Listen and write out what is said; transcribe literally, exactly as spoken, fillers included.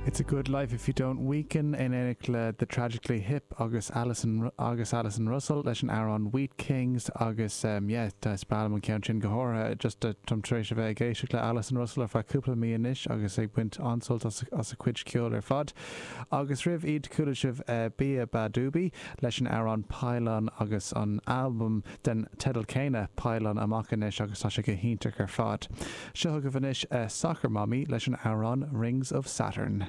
It's a good life if you don't weaken in éineacht le The Tragically Hip agus Allison agus Allison Russell leis an amhrán Wheat Kings agus um, yeah, is breá liom an ceann sin go háirithe just uh, táim tar éis a bheith ag éisteacht le Allison Russell ar feadh cúpla mí anois agus ag baint an-sult as, as a cuid ceoil ar fad. Agus roimh iad chuala sibh uh, Beabadoobee leis an amhrán Pylon agus an album den teideal céanna Pylon amach anois agus tá sé go hiontach ar fad. Seo chugaibh anois uh, Soccer Mommy leis an amhrán Rings of Saturn.